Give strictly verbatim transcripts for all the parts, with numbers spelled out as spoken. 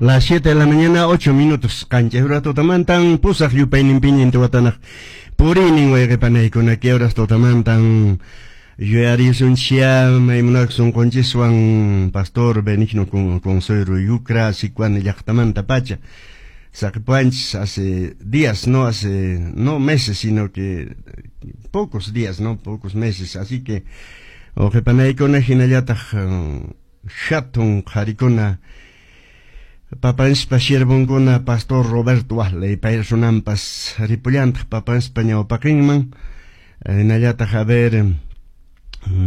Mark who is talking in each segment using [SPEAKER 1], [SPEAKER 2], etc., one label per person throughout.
[SPEAKER 1] Las siete de la mañana, ocho minutos. Qanchis horas tutamantan pusaq yupayninpiña intiwatanaq puriynin, wayqipanaykuna. Kay horas tutamantan yuyarisunchia maymunak sunqunchiswan pastor Benigno Consuero Yucra, Sicuani llaqtamanta pacha saqipuanchis hace días, no hace, no meses, sino que pocos días, no pocos meses. Así que wawqipanaykuna, hinallataq hatun qharikuna, papanspa siervonkuna, pastor Roberto Wasley, pay runanpas ripullantaq papanspa ñawpaqinman. Hinallataq, a ver,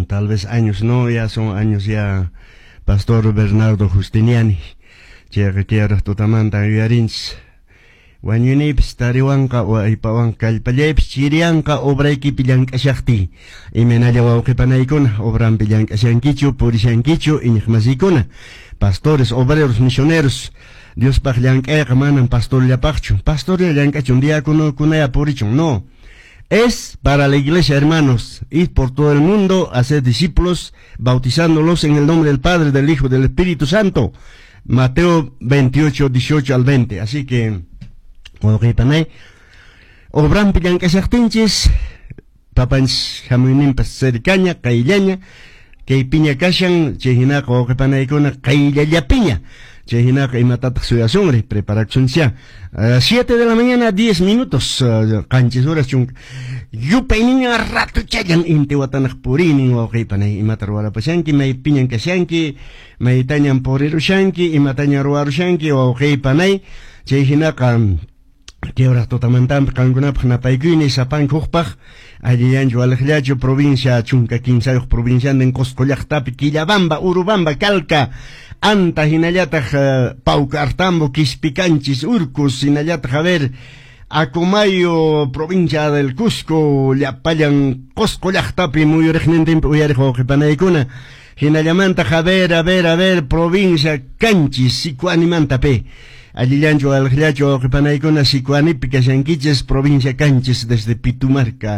[SPEAKER 1] tal vez años, no, ya son años ya, pastor Bernardo Justiniani. Chayqa kay tutamanta yuyarinchis. Wañuyniypis tariwanqa, aypawan kallpallaypis chiriyanqa obraykipi llank'ashaqtiy. Imaynalla, wawqipanaykuna, obrampi llank'ashankichu, purishankichu, iñiqmasiykuna, pastores, obreros, misioneros? Diospaq llank'ayqa manan pastorllapaqchu. Pastorlla llank'achun, diáconokunaya purichun. No. Es para la iglesia, hermanos. Ir por todo el mundo, hacer discípulos, bautizándolos en el nombre del Padre, del Hijo, del Espíritu Santo. Mateo veintiocho, dieciocho al veinte. Así que, wawqipanay, obrampi llank'ashaqtinchis, papanchis hamuyninpas cercaña, qayllaña, kaypiña kashan. Chay hinaqa, wawqipanaykuna, qayllallapiña. Chay hinaqa, imatataq suyasunri? Preparakusunchá. siete de la mañana, diez minutos, qanchis horas chunka yupayniña ratuchallan intiwatanaq puriynin. Wawqipanay, imata ruwarapashanki? Maypiñan kashanki? Maytañan purirushanki? Imatañan ruwarushanki, wawqipanay? Chay hinaqa, kay horas tutamantanpi qankunapaq napaykuyni sapanka hukpaq. Allillanchu, waliqllachu, provincia chunka kimsayuq provinciantin, Cusco llaqtapi, Quillabamba, Urubamba, Calca, Anta, hinallataq uh, Paucartambo, Quispicanchis, Urcos, hinallataq, a ver, Acomayo, provincia del Cusco, llapallan Cusco llaqtapi muyuriqnintinpi uyariq wawqipanaykuna. Hinallamantaq, a ver, a ver, a ver, provincia Canchis, Sicuanimanta pe. Allillanchu, waliqllachu, wawqipanaykuna, Sicuanipi kashankichis, provincia Canchis, desde Pitumarca?